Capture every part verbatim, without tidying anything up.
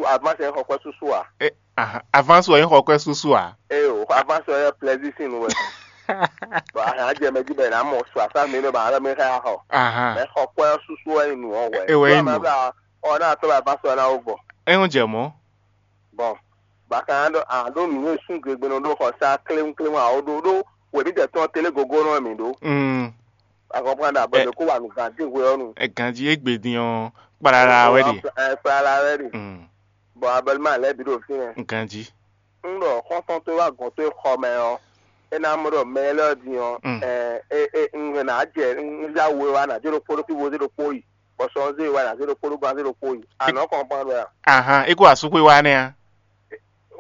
Avance yɛ xɔ kwɛ susu a? E, ahan, avance wɛ nyí xɔ kwɛ susu a? Eye o, avance yɛ plaisir sin nu wɛ. Bon, ahan jɛ mɛ jí bɛ na mɔ su asa mi ne ba alɔ mi xa xɔ. Ahan. Mɛ xɔ kwɛ susu wɛ nu ɔ wɛ. E wɛ nyí nu. Ɔ na tɔ ba avance wɛ na wo vɔ. E ń jɛ mɔ. Bon, ba kan ɖo a ɖo nu e sun gbe gbe nɔ ɖo xɔ sa kléwún kléwún a o ɖo ɖo wɛ mi tɛ tɔn télé gogo nɔ mi ɖo. Mm. A comprendre bɔ e ko wa nu gan dé hwe ɔ nu. E ganji e gbe din ɔ, kpalala wɛ ɖe. Ɛ kpalala wɛ ɖe. Mm. Bɔ abɛlima lɛ bi ɖo fínɛ. Ganji. N ɖɔ xɔntɔn to wa gɔn to xɔ mɛ ɔ, e na mɔ ɖɔ mɛ lɛ din ɔ, mm, ɛ e e n na jɛ n ya wo wa na jɛ ɖo kpo ɖo fi wo zé ɖo kpo yi, bɔ sɔ zé wa na zé ɖo kpo ɖo gban zé ɖo kpo yi. A nɔ comprendre a? Ahan, e ko asukwe wa nɛ a?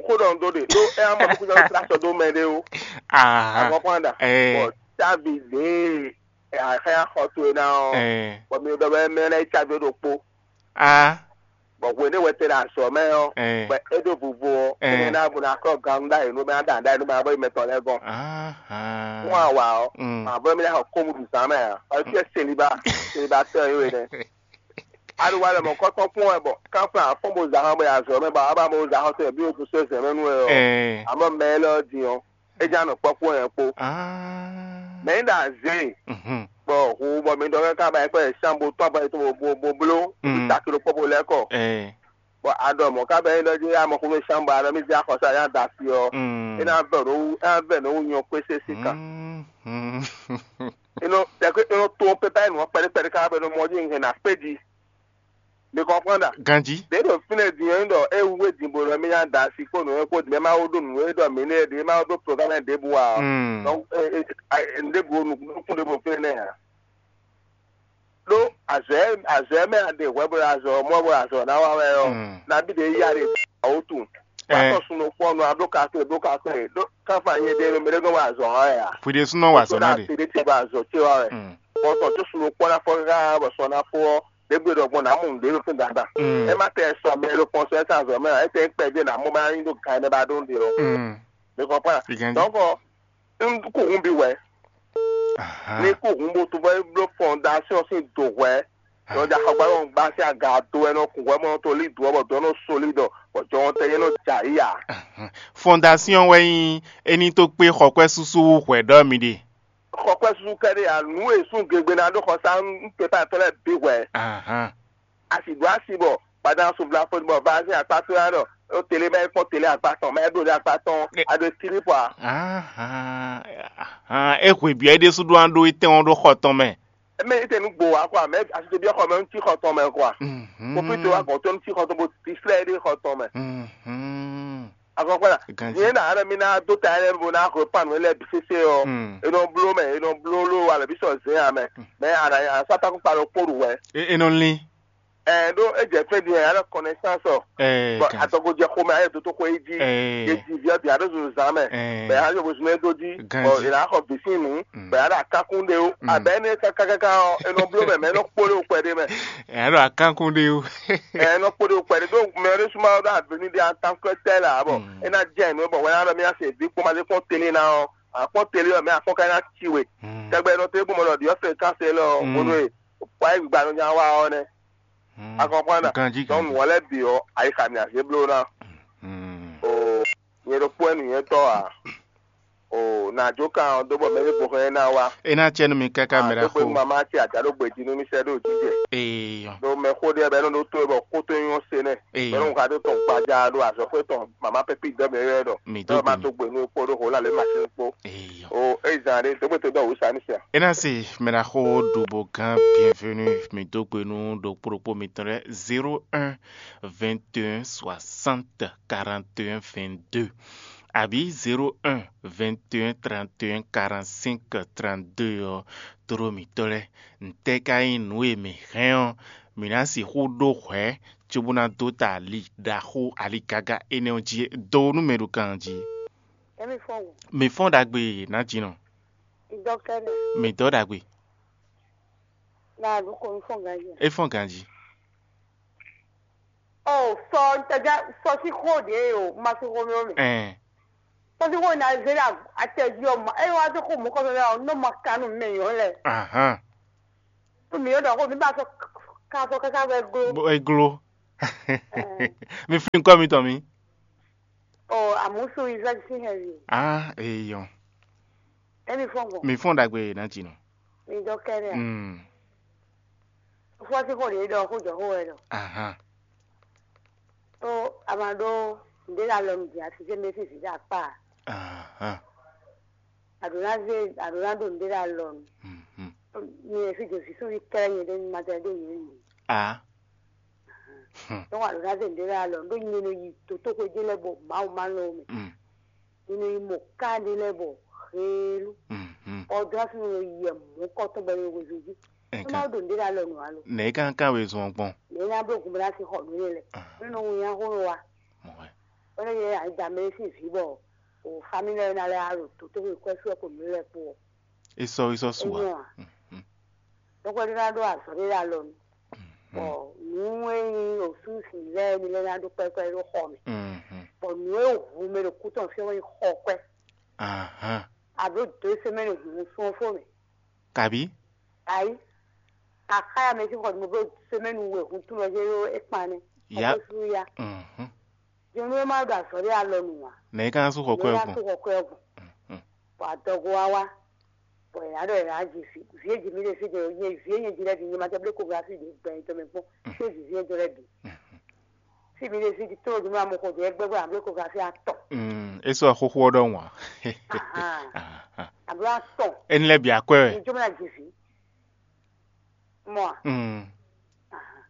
Xó ɖɔ n ɖó ɖe ɖó é á mɔ kúkú sɔ́ trá sɔ dó mɛ ɖé ó. Ah, agɔkpɔn ɖa. Eh. Bɔ távi ɖě axɛ́ axɔ towe ná ɔ́, eh, bɔ mi ɖɔ bɛ mɛ lɛ́ɛ yi távi ɖokpó. Ah. Bɔ hwenu wɛ te ɖo azɔ̌ mɛ ɔ́, eh, bɔ é ɖó vuvo ɔ́, eh, énɛ́ ná bó ná kɔ́ gan ɖ'ayǐ nú mɛ ná ɖa ɖ'ayǐ nú mɛ ná bɔ yi mɛtɔn lɛ́ɛ gɔ́n. Ah. Fún awa ɔ́, mm, mǎ bɔ mɛ ná xɔ kómú ɖu zǎn mɛ ǎ. Ɔ́ fíɛ seliba, seliba tɔn yí we nɛ. Aɖuwa lɛ mɔ kɔtɔn kpɔn wɛ bɔ kánflán afɔn bo zǎn bɔ ya zɔ mɛ bɔ aba bo zǎn xɔsɛ bí o to sɛ zɛ mɛ nú wɛ ɔ. Ɛɛ. Amɔ mɛ lɛ ɔ din ɔ, é já nɔ kpɔkpɔ yɛn kpo. Ah. Mɛ yi ɖa zé. Mhm. Bɔ hu bɔ mi ɖɔ kɛ ká ba yɛ kpɛ shan bo tɔn ba yɛ to bo bo bló. Mhm. Takiro kpɔ bo lɛ kɔ. Ɛɛ. Bɔ aɖɔ mɔ ká bɛ yi ɖɔ jí amɔ xó mi shan bɔ aɖɔ mi zé axɔsa ya da si ɔ. Mm. É ná vɛ ɖo wú é ná vɛ ɖo wú nyɔ kpé sésé kan. Mm. Mm. Inɔ tɛkɛ inɔ tó pépé nɔ kpɛɖé kpɛɖé ká bɛ nɔ mɔ jí ŋhɛn ná kpé jí. Mi kɔnpɔn ɖa. Ganji. Ɖě ɖo fínɛ́ din ɔ́, nyí ɖɔ é wú é din bo ɖɔ mì nya da asi kpó nǔ e kpó din, mɛ ma wó ɖó nǔ e ɖɔ mǐ nɛ́ ɖě ma wó ɖó programme ɖěbǔ ǎ ɔ́. Mm. Donc, e, e, a, e, nǔɖébǔ nukún ɖěbǔ fínɛ́ nɛ́ ǎ. Ɖó azɔ̌ e azɔ̌ e mɛ a ɖe hwɛ bó ɖo azɔ̌ mɔ bó ɖo azɔ̌ ná wa wɛ ɔ́, mm, nabí ɖě yá ɖe awútu. Ɛ. Wá tɔn sun ɖokpó ɔ́ nɔ abló kakle bló kakle ɖó káfá nyɛ ɖe mɛ ɖé nɔ wa azɔ̌ wa wɛ ǎ. Hwi ɖésúnɔ wa azɔ̌ ná ɖe. Ɖé ce ba azɔ̌ ce wa wɛ. Mm. Bɔ tɔn tó sun ɖokpó ná fɔ káká bɔ sɔ ná fó ɔ́, ɖě gbe ɖɔ gbɔn nǎ mɔ nǔɖé ɖo fún dandan. Mm. É má tɛ sɔ mɛ ɖo kpɔn sɔ ɛ sá azɔ̌ mɛ ǎ, é tɛ kpɛ ɖé nǎ mɔ má nyí ɖó gan ɛ mɛ ba ɖó nɖe ɔ́. Mm. Mi kɔnpɔn. Ganji. Donc, un kú hun bi wɛ. Aha. Ní kú hun bó tún bɔ é bló fondation sín do hwɛ. Nɔ ja xɔgbá nɔ gbá sí aga do ɛ nɔ kun hwɛ mɔ tó lí do ɔ bɔ dɔ nɔ soli dɔ bɔ jɔn tɛ yɛ nɔ ja yi ya. Aha. Fondation wɛ nyí ení tó kpé xɔkwɛ́ súsú wú hwɛ ɖɔ mi ɖe. Xɔkwɛ́ súsú kɛɖé ya nǔ e sún gegbe ná ɖó xɔsá ń pépà tɔn lɛ bí hwɛ. Aha. Asi ɖo asi bɔ gbadá sovla fó bɔ va sín akpá tó yá ɖɔ ó télé bá é kpɔ́n télé akpá tɔn mɛ é ɖo ɖe akpá tɔn. Ɛ- a ɖo tírí pɔ a. Ahan, ahan, e hwe biɔ é ɖésú ɖó an ɖó étɛn ɔ́ ɖó xɔ tɔn mɛ. Mɛ é tɛ nu gbo wa kɔ a mɛ asi tó biɔ xɔ mɛ ŋutí xɔ tɔn mɛ kɔ a. Mhm. Kó fi tó wa gɔn tó ŋutí xɔ tɔn bó dislɛ é ɖé xɔ tɔn mɛ. Mhm. Akɔkɔ la. Ganji. Yẹn na ara mi na do ta yẹn bo na ko pan wẹn lɛ bi sese ɔ. Mm. E nɔ blo mɛ e nɔ blo lo alɛ bi sɔ zɛn a mɛ. Mm. Mɛ ara a sa ta ko kpa ɖo kpo ɖu wɛ. E e nɔ lin. Ɛ ɖo e jɛ fɛn di yɛ alɛ connaissance ɔ. Ɛɛ, bɔn kan. Atɔgo jɛ xomɛ ayɛ doto xɔ yi ji. Ɛɛ. E di viɔ di alo zun zan mɛ. Ɛɛ. Bɛ ayɔ bo zun e do ji. Ganji. Ɔ e na xɔ bisin nu. Mm. Bɛ ala kakun de o. Mm. Abɛ ne kakaka ɔ e nɔ blo mɛ mɛ e nɔ kpolo kpɛ de mɛ. Ɛ alo akankun de o. Ɛ e nɔ kpolo kpɛ de do mɛ e suma do aveni de en tant que tel a bɔ. Mm. E na jɛ nu bɔ wɛn alɔ mi ase vi kpɔma de kpɔn tele na ɔ. Akpɔn tele ɔ mɛ akpɔn ka na ci we. Mm. Tɛgbɛ nɔ te gbɔmɔ lɔ diɔ fɛ kan se lɔ. Mm. Wonu e. Wa e gbigba nɔ nya wa ɔ nɛ. Mm. A comprendre? Ganji, donc ganji. Wale bi ɔ ayi ka mi ase blo na. Mm. O nyɛ ɖo kpɔɛ nu nyɛ tɔ a. O na jo kan ɔ do bɔ mɛ ne bo hɛn na wa. E na cɛ nu mi kaka mɛ ɖa xo. Mama ti ada ɖo gbeji nu mi sɛ ɖo jijɛ. Eyɔ. Donc mɛ xo ɖe bɛ nɔ ɖo to bɔ koto nyɔ se nɛ. Eyɔ. Bɛ nɔ ka do tɔn gbaja ɖo azɔxwe tɔn mama pɛpi dɔ mɛ yɔ dɔ. Mi do ma gbe. To gbe nu kpo ɖo ho la le ma se kpo. Eyɔ. O e zan ɖe to gbe to dɔ wusa ni sia. E na se mɛ ɖa xo ɖu bo gán bienvenue mi do gbe nu ɖo kpo ɖokpo mitɔn lɛ zéro un vingt et un soixante quarante et un vingt-deux. Àbí zéro un vingt et un trente et un quarante-cinq trente-deux ɔ, tlóló mǐtɔn lɛ́ɛ, ntɛ́ ka nyí nǔ e mǐ hɛn ɔ́, mǐ ná sixú ɖó hwɛ̌ cóbó ná dó ta ali ɖaxó aligaga énɛ́ ɔ́ jí é? Do nú mɛ ɖo kan jí. Emi fɔn wo. Mǐ fɔ́n ɖagbe nǎjínɔ. Dɔkɛnɛ. Mǐ dɔ́ ɖagbe. Na ɖu ko mi fɔn ganji. É fɔ́n ganji. Ɔ sɔ tɛgɛ sɔ sí xó ɖě o ma sí xó mi o mɛ. Ɛn. Sɔ sí xó na zé la atɛji ɔ ma eye wa tó xó mɔ kɔfɛ lɛ ɔ nɔ ma kanu mɛ yɔ lɛ. Ahan. Tó mi yɔ dɔ xó mi ba sɔ ka sɔ kaka bɛ glo. Bó é gló. Mi flín kɔ́ mitɔn mi. O, àmúsu Isaac sín hɛn mi. Ah, eyɔn. Emi fɔn gbɔn. Mi fɔn ɖagbe ná dzi nɔ. Mi dɔ kɛɖɛ. Mm. Fɔ sí xɔ ɖe ɖɔ xó jɔ xó wɛ ɖɔ. Aha. Tó a ma ɖó ǹdé la lɔ nù dzi asi sɛ mɛ sísì ɖe akpa. Aha. Aɖǒ ná zé aɖǒ ná ɖo ǹdé la lɔ nù. Mhm. Mi e fi jɛ fi sóvi kɛlɛ nyɛ ɖe ma tɛ ɖo nyɛ nù. Ah. Hmm. Tɔn wa ɖo ná zɛ ŋɖé lɛ́ɛ alɔ ɖó nyi nɔ yi dotóxwé ɖé lɛ́ɛ bɔ Mawu ma lɔ mɛ. Mm. Nyi nɔ yi mɔ ká ɖé lɛ́ɛ bɔ heelu. Mhm. Ɔdrásinu nɔ yi yɛ mɔ̌ kɔtɔn bɔ nɔ wezun jí. Ɛ Nú kan Mawu ɖo ŋɖé lɛ́ɛ alɔ nǔ alo. Nɛ̌ é ka ka wezun ɔ́ gbɔn? Nɛ̌ ná bló gun bó ná sí xɔ nǔ énɛ́ lɛ́ɛ? Ah. Nú nɔ wun nyá xó nɔ wa. Mɔ̌ wɛ. Bɔ nɔ yɛ ayi da mɛ sín vǐ bɔ o famílí lɛ́ɛ ná lɛ́ alɔ dotóxwé kwɛ́ sú ɛ ko nǔ lɛ́ɛ kpó ɔ. É sɔ́ é sɔ́ su ǎ. Enyɔ a? Mhm. Ɖɔkpɛ́ ɖé ná ɖó azɔ̌ ɖé ɖo alɔ nu. Bɔ nǔ e nyí osúnsi lɛ́ɛ ní lɛ́ ná ɖó kpɛ́kpɛ́ ɖó xɔ mɛ. Mhm. Bɔ nǔ e hu mɛ ɖo kú tɔn fí ɔ́ wɛ nyí xɔ kwɛ́. Ahan. Abo dó semɛ́ni hǔn sún ɔ́ fó mɛ. Kabí? Ayi. Axáya mɛ sín xɔ mɛ bó semɛ́ni we hǔn tún lɔ jɛ ɖó é kpan nɛ́. Ya. Xɔ kó sú ya. Mhm. Jɔnú e má ɖo azɔ̌ ɖé alɔ nu ǎ. Nɛ̌ é ka ná sú xɔ kwɛ́ Nɛ̌ ɔ́ ná gbɔn? Sú xɔ kwɛ́ ɔ́ gbɔn. Mhm. Bɔ adɔgo wá wá. Bɔ è nǎ ɖɔ è nǎ ji vǐ vǐ e ji mí ɖe fí jɛ nyɛ vǐ e nyɛ ji lɛ́ɛ bǐ nyɛ ma tɛ blé koglafí ɖě gbɛ tɔn mɛ kpɔ́n. Xwé vǐví ɔ́ jɔ lɛ́ɛ bǐ. Fí mǐ ɖe fí tló ɖu nú amɔxo ɖě gbɛ́gbɛ́ ambló koglafí atɔn. Mm, é sɔ́ xóxó ɔ́ ɖɔhun ǎ. Ahan. Ahan. Ambló atɔn. Éní lɛ́ɛ bǐ akwɛ́ wɛ. Ní jɔ mɔ ná ji vǐ. Mɔ a? Mm. Ahan.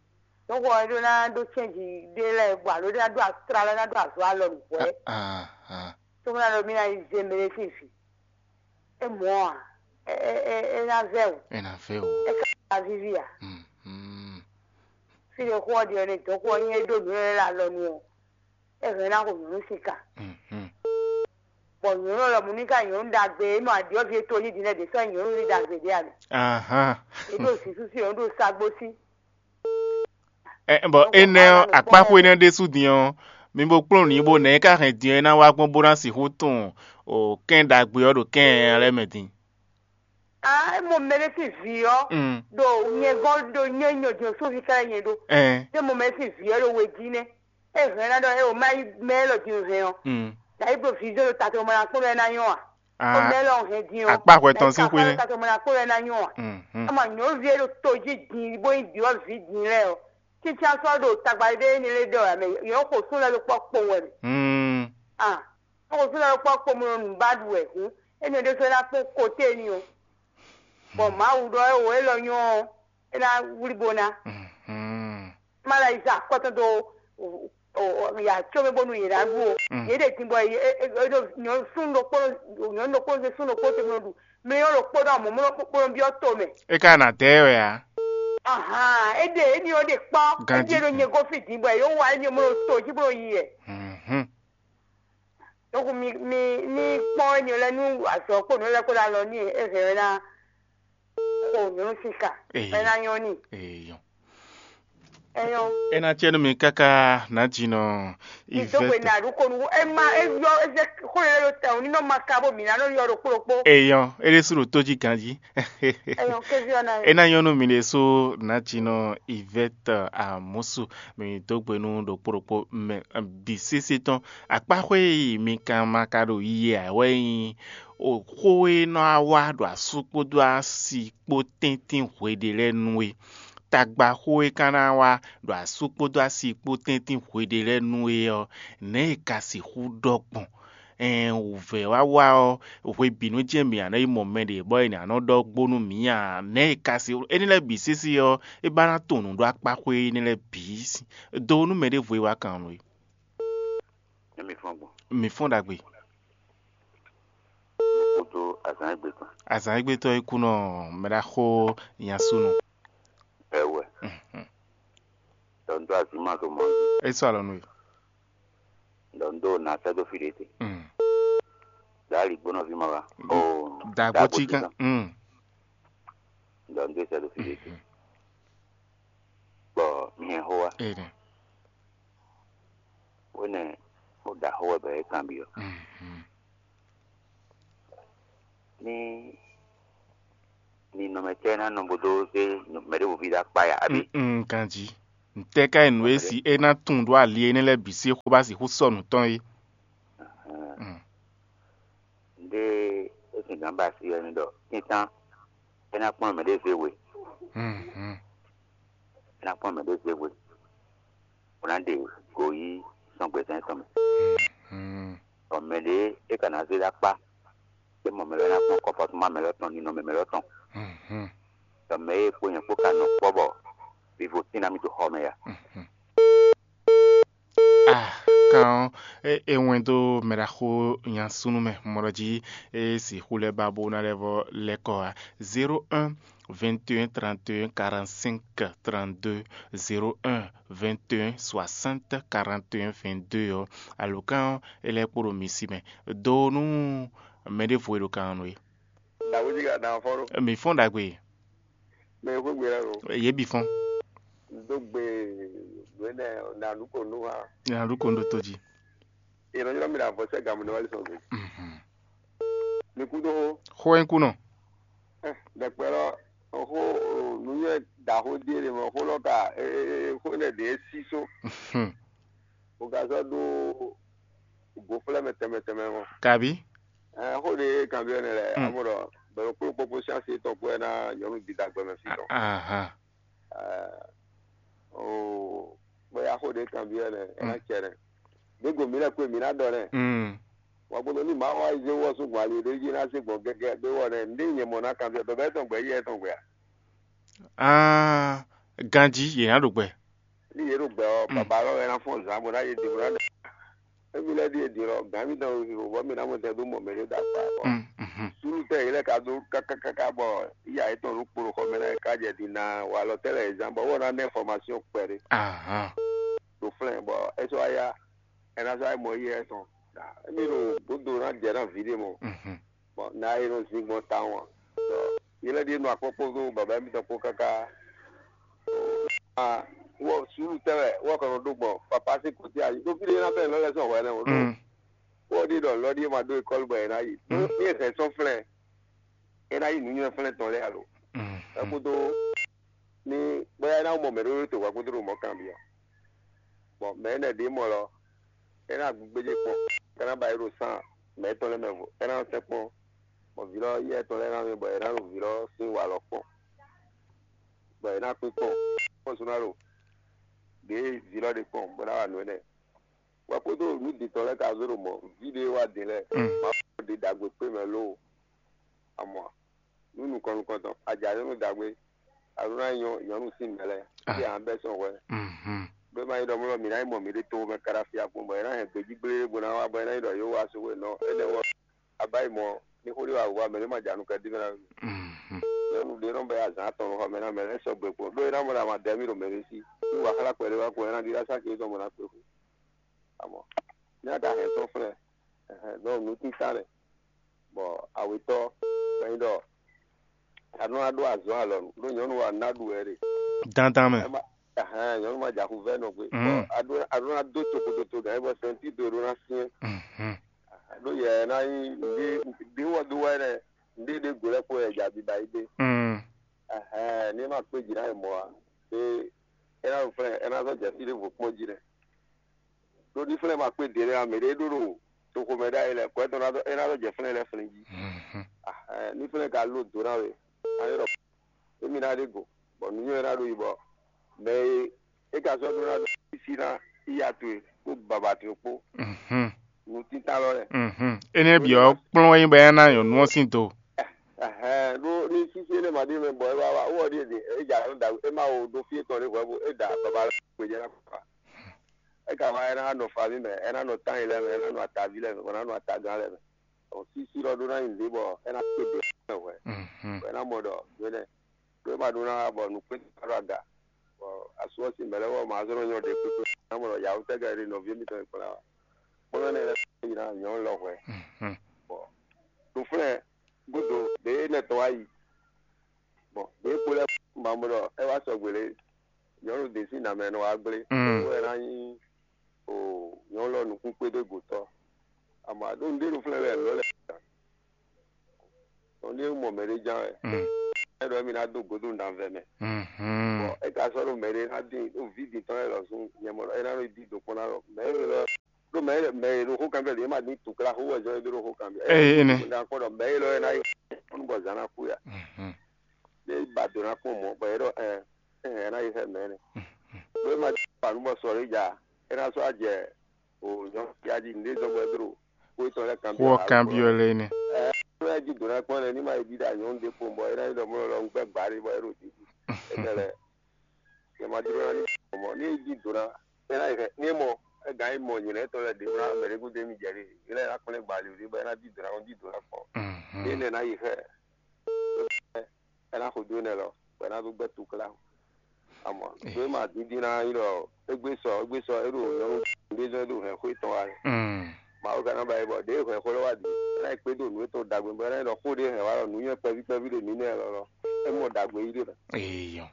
Donc ɔ é ɖó ná ɖó cɛ́nji ɖé lɛ́ɛ bɔ alo ɖé ná ɖó asra lɛ́ɛ ná ɖó azɔ̌ alɔ nǔgbó wɛ. Ahan. Tó mɔ ná ɖo mí ná yi zé mɛ ɖé sín vǐ. É mɔ̌ ǎ, é é é é ná vɛ́ wǔ. É ná vɛ́ wǔ. É ka ná víví ǎ. Mhm. Fí ɖé xó ɔ́ ɖi ɔ́ ní dɔ̌n xó ɔ́ nyí é ɖó nǔ lɛ́ɛ lɛ́ alɔ nu ɔ́, é hɛn ná xo nyɔ̌nu sín ka. Mhm. Bɔ nyɔ̌nu lɔmɔ̌ ní ka nyɔ̌nu ɖagbe é nɔ aɖyɔ́ví e tóli din lɛ́ɛ ɖě sɔ́ nyí nyɔ̌nu ní ɖagbe ɖé ǎ mɛ. Ahan. É ɖo zǐsúsú ɔ́ ɖo sagbó sí. Ɛ, bɔ énɛ́ ɔ́, akpáxwé énɛ́ ɖésú din ɔ́, mi bo kplɔ́n nǔ bó nɛ̌ é ka hɛn din ɔ́ é ná wá gbɔn bó ná sixú tunwun o kɛ́n ɖagbe ɔ́ ɖo kɛ́n nyanya lɛ́ɛ mɛ din. Ah, é mɔ mɛ ɖé sín vǐ ɔ́ Mm. ɖo nyɛ gɔ́n ɖo nyɛ nyɔ din sóvi ká nyɛ ɖó. Ɛn. É mɔ mɛ sín vǐ ɔ́ ɖo we jí nɛ́. É hɛn ná ɖɔ é o má yí mɛ élɔ́ din hɛn ɔ́. Mm. Dǎ yí bló vǐ zé ɖo tatɔmɔ ná kpɔ́n ɖɔ é ná nyɔ́ a? Ó Ah, mɛ élɔ́ hɛn din ɔ́. Akpáxwɛ tɔn sín xwé nɛ́. Tatɔmɔ ná kpɔ́n ɖɔ é ná nyɔ́ a? Mhm. Ama nyɔ̌nuví e ɖo to jí din bó nyí ɖyɔ̌vǐ din lɛ́ɛ ɔ́, cícá sɔ́ ɖo tagba ɖé énɛ́ lé ɖɔ wɛ mɛ yɔ̌ xo sún lɛ́ ɖo kpɔ́ kpowun wɛ mɛ. Mm. Ah, xo sún lɛ́ ɖo kpɔ́ kpowun ɖo nǔ ba ɖu wɛ hǔn, énɛ́ ɖésú é ná kpɔ́n koté ni ɔ́. Bɔ Mawu ɖɔ é o élɔ́ nyɔ́ ɔ́, é ná wlí bo ná. Mhm. Má ɖo ayiza akɔtɔn dó ya có mɛ bónú yě ná ɖu ó. Mm. Yě ɖe din bɔ yě é- é- é- nyɔ̌nu súnnu ɖokpó nyɔ̌nu ɖokpó zé súnnu ɖokpó te bó nɔ ɖu. Mɛ ɔ́ ɖokpó ɖɔ mɔ̌ bó nɔ byɔ́ to mɛ. É ka ná dɛ wɛ ǎ. Ahan, é ɖe éní ɔ́ ɖe kpɔ́. Ganjí. É ɖe ɖo nyɛ gɔ́ fí din bɔ yě wá éní ɔ́ mɔ ɖo to jí bó nɔ yi yɛ. Mhm. Donc mi mi ní kpɔ́n éní lɛ́ɛ nú azɔ̌ kpó nǔ lɛ́ɛ kpó ɖo alɔ n'i é hɛn ɛ ná xo nyɔ̌nu sín ka Ee. Bɔ é ná nyɔ́ n'i. Eyɔn. É nyɔ́. É ná tiɛ nú mi káká nǎjinɔ Mi dó gbe Ivɛtɔ. Nǎ ɖu ko nú é má é yɔ é zɛ xó lɛ́ɛ ɖo tɛn ò ní nɔ ma ka bó mǐ ná nɔ yɔ ɖokpó ɖokpó. Eyɔn, é ɖésú ɖo tó jí ganjí. Eyɔn, kéví ɔ́ ná É ná nyɔ́ nú mi ɖésú nǎjinɔ Ivɛtɔ Amusu. Mi dó gbe nú ɖokpó ɖokpó mɛ bǐ sésé tɔn. Akpáxwé e mi kan ma ka ɖo yiyi ǎ wɛ nyí xó e nɔ wá ɖo asú kpódó asi kpó tɛ́ntin hweɖé lɛ́ɛ nu é. Tagba xó e ka ná wá ɖo asú kpódó asi kpó tɛ́ntin hweɖé lɛ́ɛ nu é ɔ́, nɛ̌ è ka sixú ɖɔ gbɔn? Ɛɛn, wǔvɛ́ wá wá ɔ́, hwebǐnu jɛ́n mǐ ná yi mɔ mɛɖé bɔ è nǎ nɔ ɖɔ gbónú mǐ ǎ. Nɛ̌ è ka sixú? Énɛ́ lɛ́ɛ bǐ sésé ɔ́, é ba ná tunwun nǔ ɖó akpáxwé énɛ́ lɛ́ɛ bǐ do nú mɛ ɖěvo e wá kan nú é. Nɛ̌ mi fɔ́n gbɔn? Mi fɔ́n ɖagbe. Kúdó azǎn égbé tɔn. Azǎn égbé tɔn é kú nɔ mɛ ɖaxó nyasúnu. Ɛwɛ. Mhm. Ɖɔ un dó azǐ ma ɖo mɔ. É sɔ́ alɔ nú we. Ɖɔ un dó nǎ sɛ́ dó fí ɖé te. Mm. Ɖɔ aligbónɔví ma wá. Mm. Oo, Dagbo tí gán. Mm. Ɖɔ un dó sɛ́ dó fí ɖé te. Mhm. Bɔ mi hɛn xó wá. Ee nɛ. Wénɛ ó ɖa xó wɛ bɔ é kanbyɔ́. Mhm. Ní ninɔmɛ tɛ́ ná nɔ bó dó zé mɛ ɖěvo ví ɖó akpá ya, abǐ? Mm, mm, ganjí. Ntɛ́ ká e nǔ e si é ná tunwun ɖó ali énɛ́ lɛ́ɛ bǐ sín xó ba sixú sɔ́ nǔ tɔn é? Hɛn, Mm. Nɖé é sin gǎn ba asi wɛ mi ɖɔ kɛntán é ná kplɔ́n mɛɖé zé we, Mhm. É ná kplɔ́n mɛɖé zé we, bó ná ɖe go yí sɔ́ngbezán tɔn mɛ. Mhm. Bɔ mɛɖé é ka ná zé ɖó akpá, é mɔ mɛ lɛ́ɛ ná kpɔ́n kɔ́fɔtúnma mɛ lɛ́ɛ tɔn, ninɔmɛ mɛ lɛ́ɛ tɔn. Mhm. Bɔ mɛ e kpo nyɛ kpó ka nɔ kpɔ́ bɔ vivo tín ná mì dó xɔ mɛ ya. Mhm. Ah, kan ɔ́, é, é wɛn dó mɛɖaxó nya súnnu mɛ mɔɖɔ jí é sixú lɛ́ ba bó ná lɛ́ vɔ lɛ́ kɔ ǎ. Zéro un, vingt et un, trente et un, quarante-cinq, trente-deux, zéro un, vingt et un, soixante, quarante et un, vingt-deux ɔ́, alǒkan ɔ́, é lɛ́ kpo ɖo mi sí mɛ. Do nú mɛ ɖěvo e ɖo kan ɔ́ nú é. Dǎwe jí ka dán fɔ́n ɖó. Mi fɔ́n ɖagbe. Mɛ e xwé gbe lɛ́ɛ ɖo. Yě bǐ fɔ́n. Dó gbe nǔ énɛ́ ná ɖu ko nú ha. Ná ɖu ko nú tó jí. È nɔ ylɔ́ mi ɖo avɔsɛ́ gamɔ nɛ wá lí sɔgbe. Mhm. Mi kú dó xó. Xó e kú nɔ. Ɖɛkpɛ lɔ xó nǔnywɛ́ ɖaxó ɖíe ɖe mɔ xó lɔ ka xó énɛ́ ɖě é sí só. Mhm. O ka sɔ́ ɖó gǒflɛ́ mɛ tɛnmɛ tɛnmɛ mɔ. Kabi. Ɛɛ, xó ɖé kanbyɔ́ nɛ lɛ, Mm. Amɔ ɖɔ bɛ̌ kplɔ́n kpɔ́kpɔ́ sín asi tɔn kpó wɛ ná nyɔ̌nu dida gbɛmɛ fí tɔn. Ahan. Ɛɛ, oo, bóyá xó ɖé kanbyɔ́ nɛ, é ná Mm. cɛ nɛ. Gbégbó mǐ lɛ́ kpé mǐ ná ɖɔ nɛ. Mm. Wǎ gbɔdɔ ní Mawu wá zé wɔ sún gbɔn ali ɖé jí ná zé gbɔn gɛgɛ ɖé wɔ nɛ, ndé nyɛ mɔ ná kanbyɔ́ bɛbɛ tɔn gbɛ yɛ tɔn gbɛ a? Ah, ganjí yě ná ɖo gbɛ. Ní yě ɖo gbɛ ɔ́, Mm. Baba lɔ wɛ ná fɔ́n zǎn bó ná yí dǐn bó ná ɖe. Émi lɛ́ɛ ɖíe din ɔ́, gǎn mitɔn ɖo vivo bɔ mǐ ná mɔ tɛn dó mɔ mɛ ɖé ɖo akpa ɔ́. Mm, mhm. Súnnu tɛ́ yě lɛ́ɛ ka dó káká káká bɔ yíyá yětɔn ɖo kpo ɖo xɔ mɛ ná yě ká jɛ din ná wa alɔ tɛ́ lɛ́ɛ yě zán bɔ wɔ ná ná information kpɛɖé Ahan. Ɖo flɛ́n bɔ é sɔ́ wá yá, é ná sɔ́ wá mɔ yíyá tɔn. Émi ɖo gǒdo ná jɛ ná vǐ ɖé mɔ. Mhm. Bɔ ná e nɔ zin gbɔn tawun ǎ. Bɔ yě lɛ́ ɖíe nɔ akpɔ́kpɔ́ dó baba émítɔn kpó káká. Ah, wɔ suúlu tɛ́ wɛ wɔ kɔ nɔ ɖó gbɔn papa sín kɔtí ayi ɖó fí ɖé ná bɛ́ lɔ́ lɛ́ɛ sɔn hwɛ nɛ́ o ɖó. Mm. Wɔ ɖi ɖɔ lɔ́ ɖíe ma ɖó ekɔ́lu bɔ è ná yi. Mm. Ní è hɛn sɔ́ flɛ́n, é ná yi nǔnywɛ́ flɛ́n tɔn lɛ́ɛ alo. Mm. Ɛ kúdó ní bóyá é ná mɔ mɛ ɖó to wá kúdó ɖo mɔ̌ kanbyɔ́. Bɔ mɛ énɛ́ ɖě mɔ lɔ, é ná gbéjé kpɔ́n, é ná ba é ɖo sán mɛ étɔn lɛ́ɛ mɛ vo, é ná sɛn kpɔ́n, bɔ vǐ lɔ yɛ tɔn lɛ́ɛ ná mɛ bɔ è nǎ ɖo vǐ lɔ sín wa lɔ kpɔ́n, bɔ è nǎ kpín kpɔ́n, kpɔ́n sú ná ɖo ɖě vǐ lɔ ɖe kpɔ́n bó ná wa nǔ énɛ́. Wɛ kpódó nǔ dǐtɔ́ lɛ́ɛ ka zé ɖo mɔ̌, vǐ ɖé wá din lɛ́ɛ, Mm. Mawu ɖe ɖagbe kpé mɛ lóo. Amɔ nú nukɔn nukɔntɔn, a jǎ nyɔ́nu dǎgbé, a ɖó ná nyɔ́ nyɔ̌nu sín mɛ lɛ́ɛ, Ah. Fí a nǎ bɛ́ sɔn hwɛ. Mhm. Ɖó é ma nyí ɖɔ mɔ̌ ɖɔ mǐ ná yi mɔ mǐɖée tomɛ káɖá fí akpɔ́n bɔ é ná hɛn gbejí gblé bó ná wá bɔ é ná nyí ɖɔ yě wá sú hwe nɔ énɛ́ wɔ. A bá yi mɔ ní xó ɖé wa wǔ wá mɛ ɖé ma jǎ nukɛn dín mɛ ná. Mhm. Nyɔ̌nu ɖé nɔ bɛ azǎn atɔn nɔ xɔ mɛ ná mɛ lɛ́ɛ sɔgbe kpɔn ɖó é ná mɔ ɖɔ a ma dɛ mì ɖo mɛ ɖé sí. Ní wa xlá kpɛɖé wá kpɔn é ná ɖi ɖó asá ce tɔn mɔ ná kpé xwe. Amɔ ní a ka hɛn tɔn flɛ́, ɛhɛn, dɔn nǔtítán lɛ, bɔ awetɔ́, gbɛnyi ɖɔ a nɔ ná ɖó azɔ̌ alɔ nú ɖó nyɔ̌nu wa ná ɖu wɛ ɖe. Dandan mɛ. Ɛ ma ɛhɛn, nyɔ̌nu ma jɛ axuvɛ́ nɔ gbe. Mm. Bɔ a ɖó a ɖó ná dó tokototo gǎn bɔ sɛntído ɖó ná syɛ́n. Mhm. Ɖó yɛ ná nyí ɖé ɖé wɔ dó wɛ nɛ, ɖé ɖé go lɛ́ kpo yɛ jɛ abiba yi ɖé. Mm. Ɛhɛn, ní ma kpé jǐ ná yi mɔ̌ ǎ. É é ná ɖo flɛ́n é ná zɔ́ jɛ fí ɖěvo kpɔ́n jí nɛ. Ɖó ní flɛ́n ma kpé ɖě lɛ́ɛ ǎ, mɛ ɖé ɖó ɖo toxo mɛ ɖ'ayǐ lɛ́ɛ, kɔ́ é tɔn ná ɖɔ é ná ɖɔ jɛ flɛ́n lɛ́ɛ flɛ́n jí. Mhm. Ah, ɛ, ní flɛ́n ka ló dǒ ná we, ná ɖɔ émí ná ɖe go, bɔ nǔnywɛ́ ná ɖo yi bɔ mɛ e é ka sɔ́ ɖó ná ɖo sísí ná iya towe kpó baba towe kpó Mhm. nǔtítán lɔ lɛ́ɛ. Mhm. Énɛ́ bǐ ɔ́ kplɔ́n wɛ nyí bɔ é ná nyɔ̌nu ɔ́ sín do. Ɛhɛn, ɖó ní sísí énɛ́ ma ɖi mɛ bɔ é wá wá wɔ ɖíe ɖe é dza nɔ da é má wo ɖó fí étɔn ɖé hwɛ̌ bó é da baba lɛ́ɛ gbéjɛ ná kpa. É ka wá é ná nɔ faví mɛ, é ná nɔ tányi lɛ́ɛ mɛ, é ná nɔ ataví lɛ́ɛ mɛ, bɔ é ná nɔ atagán lɛ́ɛ mɛ. Ɔ sísí lɔ ɖó ná nyi nǔɖé bɔ é ná kpé ɖě mɛ hwɛ̌. Mhm. Bɔ é ná mɔ ɖɔ mɛnɛ ɖó é ma ɖó ná wá bɔ nǔkpɛ́n ná ɖo aga. Bɔ asú ɔ́ sín mɛ̌ lɛ́ɛ wɔ ma zɔ́n nɔ nyɔ́ ɖě kpékpé ná mɔ ɖɔ yǎwú tɛ́ ka e ɖe nɔví mitɔn e kplá wá. Kpɔ́n mɛ nɛ́ lɛ́ɛ yi ná nyɔ̌nu lɔ hwɛ̌. Mhm. Bɔ ɖo flɛ́ gúdo ɖě énɛ́ tɔn wá yi. Bɔ ɖě kpo lɛ́ɛ ma mɔ ɖɔ é wá sɔgbe lě nyɔ̌nu ɖě sín nǎ mɛ nɔ wá gblé. Mm. Bó wɛ ná nyí o nyɔ̌nu lɔ nukún kpédó gǒtɔ́. Amɔ aɖó nǔɖé ɖo flɛ́ lɛ́ɛ lɔ̌ lɛ́ɛ. Nɔ ɖé mɔ mɛ ɖé ján wɛ. Mm. É ɖɔ émí ná dó gǒdo nǎvɛ mɛ. Mhm. Bɔ É ka sɔ́ ɖo mɛ ɖé ná dín ɖo vǐ din tɔn lɛ́ɛ lɔ zun nyɛ mɔ ɖɔ é ná nɔ dín do kpɔ́n ná lɔ mɛ élɔ́ ɖo mɛ mɛ e ɖo xó kanbyɔ́ ɖě ma dín tukla xó wɛ zɔ́n é ɖó ɖo xó kanbyɔ́. Ee, énɛ́. Ná kpɔ́ ɖɔ mɛ élɔ́ é ná yi kpɔ́n bɔ zǎn ná kú ya. Mhm. Ɖé ba do ná kpɔ́n mɔ̌ bɔ é ɖɔ ɛ ɛ ná yi xɛ mɛ nɛ. Ɖó é ma dín ba nú bɔ sɔ ɖé ja é ná sɔ́ ajɛ o nyɔ̌ ya jí nǔɖé zɔ́n bɔ é ɖó xó étɔn lɛ́ɛ kanbyɔ́. Xó ɔ́ kanbyɔ́ lɛ́ɛ nɛ́. Ɛ é ná yi jí do ná kpɔ́n lɛ ní ma yi ɖíɖá nyɔ̌nu ɖé kpɔ́n bɔ é ná yi ɖɔ mɔ lɔ un gbɛ́ gbǎ ɖé bɔ é ɖo dídí. É lɛ́ Yɛ ma jló ná ní mɔ ní é jí do ná é ná yi xɛ ní é mɔ é gǎn é mɔ nyǐlɛ́ tɔn lɛ́ɛ ɖě ná mɛ ɖé gúdo émí jɛ ɖe é lɛ́ ná kplɛ́n gbali ɖé bɔ é ná jí do ná kɔn jí do ná kpɔn. Ní énɛ́ ná yi xɛ é ná xo dó énɛ́ lɔ bɔ é ná dó gbɛ́ tukla. Amɔ dó é ma dídí ná nyí ɖɔ égbé sɔ égbé sɔ é ɖo nyɔ̌nu ɖé zɔ́n é ɖo hɛn xó étɔn wá. Mawu ka ná ba yi bɔ ɖěe hɛn xó lɔ wá di é ná yi kpé dó nǔ étɔn ɖagbe bɔ é ná yi ɖɔ xó ɖé hɛn wá ɖɔ nǔ nyɔ́ kpɛví kpɛví ɖe mǐ nɛ lɔ lɔ é mɔ ɖagbe yí ɖe lɔ. Eyɔ.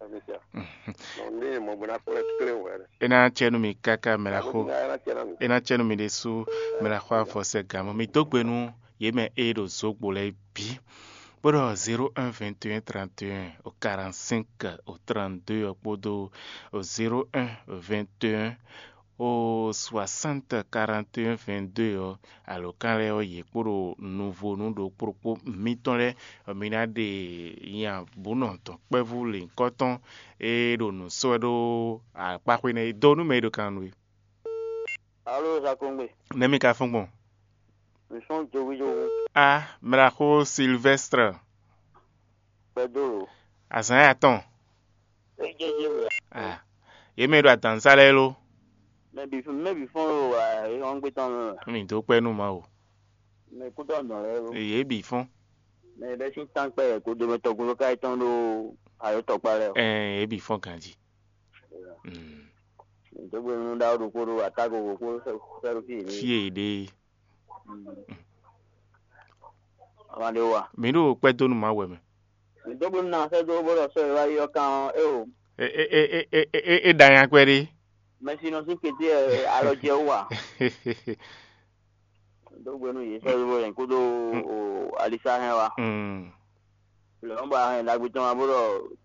Nɔ ní mɔ bó ná kplɔ́ klé wɛ. É ná cɛ nú mi káká mɛ ná xo. É ná cɛ nú mi ɖésú mɛ ná xo avɔ sɛ gǎn mɔ mi dó gbe nú yě mɛ e ɖo zǒgbo lɛ́ɛ bǐ. Bó ɖɔ zéro un vingt et un trente et un au quarante-cinq au trente-deux ɔ́ kpódó zéro un vingt et un au soixante quarante et un vingt-deux ɔ́, alǒkan lɛ́ɛ ɔ́, yě kpo ɖo nuvonu ɖokpó ɖokpó mitɔn lɛ́ɛ, mi ná ɖe nya bǔ nɔ dɔ̌nkpɛvú lěhunkɔtɔn e ɖo nǔ sɔ́ wɛ ɖó akpáxwé nɛ́ é dó nú mɛ e ɖo kan nú é. Alo Zakongbe. Nɛ̌ mi ka fɔ́n gbɔn? Mi fɔ́n jowijowi. A mlaxó Sylvestre. Kpɛdó lo. Azǎn ya tɔn. Ejɛjɛ wɛ. A yě mɛ e ɖo adǎnzá lɛ́ɛ lo. Mɛ bǐ mɛ bǐ fɔ́n lo wa é hɔn gbé tɔn mɛ. Mi dó kpɛ́ nú Mawu. Mɛ kútɔ nɔ lɛ́ɛ lo. Yě bǐ fɔ́n. Mɛ bɛ sín tán kpɛ kó do mɛ tɔgbo ló ká yi tɔn ɖó ayɔtɔkpa lɛ́ɛ. Ɛɛ yě bǐ fɔ́n ganjí. Dó gbe nú ɖawo ɖokpó ɖo atágo wǒ kpó fɛ́ɖó fí yě. Fí e yě ɖe. Ama ɖe wa. Mi ɖo kpɛ́ dó nú Mawu wɛ mɛ. Mi dó gbe nú na fɛ́ dó bó ɖɔ sɔ́ e wá yi ɔ́ kan ɔ́ é o. É é é é é é é ɖa nya kpɛɖé. Mɛsi nɔ sín kété ɛ alɔ jɛ wú wa. Dó gbe nú yě sɔ́ e wɛ kódó o alisa hɛn wa. Mm. Lɔ̌n bɔ ahɛn ɖagbe tɔn wá bó ɖɔ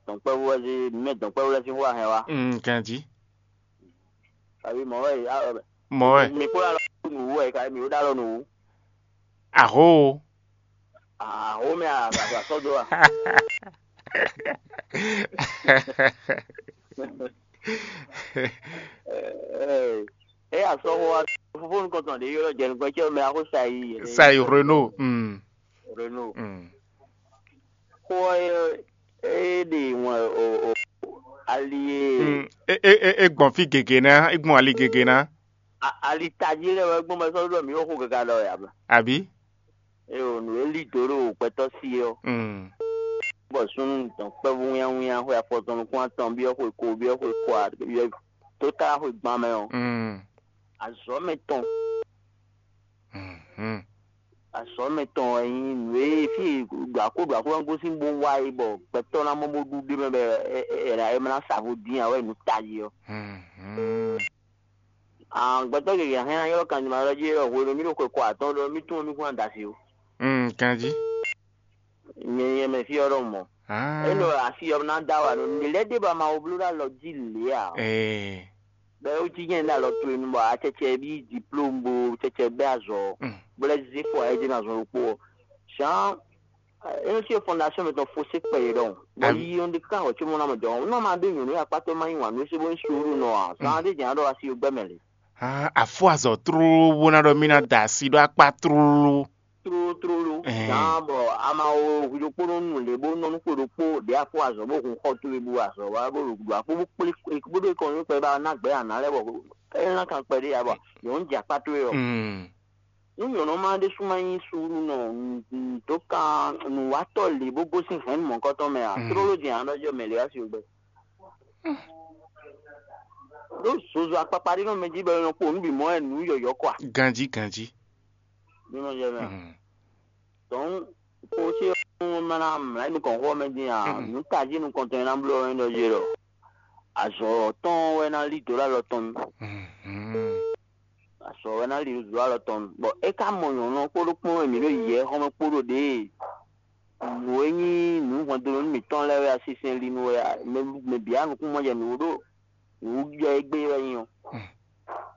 dɔ̌nkpɛvú wɛ sí mɛ dɔ̌nkpɛvú lɛ́ɛ sín xó ahɛn wá. Mm, ganjí. Kabi mɔ̌ wɛ mɔ̌ wɛ. Mi kpó alɔ nǔ wú wɛ kabi mi wó ɖó alɔ nǔ wú. Ahó. Ahó mɛ àgbàdo àsɔdó a. Ɛ ɛ asɔxo wa fofó nukɔntɔn ɖe ylɔ jɛ nukɔn cɛ mɛ axo sayi. Sayi Renault. Mm. Renault. Mm. Xó ɔ́ é ɖe ŋɔ o o ali e. Mm. E e e e gbɔn fí gěgé ná, e gbɔn ali gěgé ná. A- ali tají lɛ wɛ gbɔn bɛ sɔ́ ɖɔ mǐ xo gaga ɖɔ ya mɛ. Àbí? Eye o nǔ e lí dǒ ɖo gbɛtɔ́ sí é ɔ́. Mm. Bɔ súnnu dɔn kpɛ́vú wínnyáwínnyá xwe afɔtɔn nukún atɔn byɔ́ xwe ko byɔ́ xwe kɔ byɔ́ tó tá xwe gban mɛ ɔ́. Mm. Azɔ̌ mɛ tɔn. Mhm. Azɔ̌ mɛ tɔn wɛ nyí nǔ e fí e ɖo akó ɖo akó ná gosín bó wá é bɔ gbɛtɔ́ ná mɔ bó ɖu ɖé mɛ bɔ ɛ ná sa vo dín ǎ wɛ nǔ tají ɔ́. Mhm. Gbɛtɔ́ gěgé hɛn ná ylɔ́ kanjima ɖɔ jí ɖɔ hwenu mì ɖo xwe kɔ atɔ́ɔ́n ɖɔ mì tunwun mì kún ná da asi ó. Mm, kanjí. Nyɛ nyɛ mɛ fí ɔ́ ɖɔ mɔ̌. Ah. Énɔ asi ɔ́ ná da wà nɔ nǔ lɛ́ɛ ɖé ba ma wo bló ɖo alɔ jí lě ǎ. Eh. Bɛ ó jí nyɛ ɖo alɔ towe nu bɔ acɛcɛ bí diplôme bo cɛcɛ bɛ azɔ. Mm. Bó lɛ́ zé fɔ ayé jɛ ná zɔn ɖokpó ɔ́. Jean É nɔ cyɔ fondation mɛ tɔn fo se kpɛ yě ɖɔhun. Bɔ Am- yi ɔn ɖe ká hɔ tso mɔ na mɔ jɔ. Nɔ ma ɖe nyɔnu ya kpatɔ ma yi wan nu se bo suru nɔ a. Zan ɖe jɛn ɖɔ asi gbɛ mɛ le. Ah, afɔ azɔ tlóló bó ná ɖɔ mí ná da asi ɖó akpá tlóló. Tlóló tlóló. Ɛɛ. Zan bɔ ama wo hu ɖokpó nɔ nu le bó nɔ nu kpo ɖokpó ɖe afɔ azɔ bó hun xɔ towe bu azɔ wa bó ɖo akpó bó kplé bó ɖo kɔn nu kpɛ ba na gbɛ ana lɛ bɔ. Ɛ na kan kpɛ ɖe ya bɔ. Yɔn jɛ akpá towe ɔ. Mm. Nú nyɔ̌nu ma ɖésú ma nyí suúlu nɔ dó kan nǔwatɔ́ lě bó gosín hɛ̌nnu mɔ̌hunkɔtɔn mɛ ǎ, tlóló din ǎ nɔ jɔ mɛ lě wá si gbɛ. Ɖó zozo akpakpa ɖé nɔ mɛ jí bɔ è nɔ kpo nǔ bǐ mɔ wɛ nǔ yɔ̌yɔ́ kɔ a? Ganjí ganjí. Ní nɔ jɛ mɛ a? Dɔ̌n kpo ce ɔ́ ma ná mlǎ nukɔn xɔ mɛ dín a? Nǔ tají nukɔntɔn e ná bló ɔ́ é nɔ jɛ ɖɔ azɔ̌ tɔn wɛ ná lí dǒ ɖo alɔ tɔn mɛ. Azɔ̌ wɛ ná lí dǒ ɖo alɔ tɔn mɛ. Bɔ é ka mɔ nyɔ̌nu ɔ́ kpódó kpɔ́n e mǐ ɖo yǐyɛ́ xɔ́mɛ kpó ɖo ɖěe Nǔ e nyí nǔ hwɛndo nú mǐtɔn lɛ́ɛ wɛ a, sinsɛn li nu wɛ a, mɛ mɛ bǐ a nukúnmɔjɛ nǔ ɖo nǔ jɛ égbé wɛ nyí ɔ́.